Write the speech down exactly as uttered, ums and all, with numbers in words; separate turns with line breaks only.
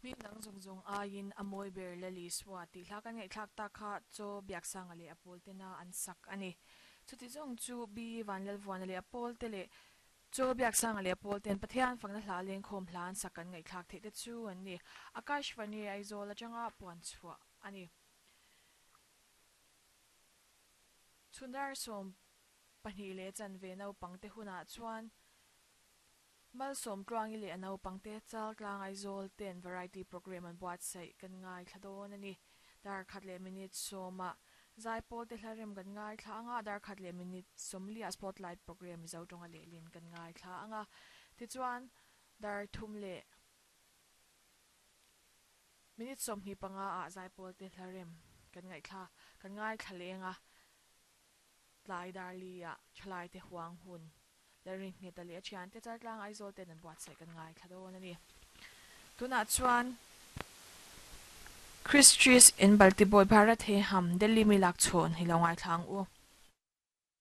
Hming dang zawng zawng aiin a mawi ber Lal Isua tih hla kan ngaihthlak tak kha chaw Biaksanga leh a pawl tena an sak a ni. Chuti zawng chu B Vanlalvuana leh a pawl te leh chaw Biaksanga leh a pawl ten Pathian fakna hla lengkhawm hla an sak kan ngaihthlak theih te chu an ni. Akashvani Aizawl atanga puan chhuah a ni. Chhundar sawm pahnih leh chanve naupangte hunah chuan Malsawm tluangi leh a naupangte Chaltlang Aizawl ten variety program an buatsaih kan ngaithla dawn a ni. Dar khat leh minute sawmah Zaipawl te hla rem kan ngaithla anga, dar khat leh minute sawmliah spotlight program Mizo tawnga lehlin kan ngaithla anga. Tichuan, dar thum leh minute sawmhnih panga ah Zaipawl te hla rem kan ngaithla kan ngaithla leng a, tlai dar li ah thalai te huang hun Lalringheta leh a thiante Chaltlang Aizawl ten an buatsaih kan ngaithla dawn a ni. Tunah chuan Christris in Baltibawi Bharat he ham Delhi mi lak chhawn hi lo ngaithla ang u.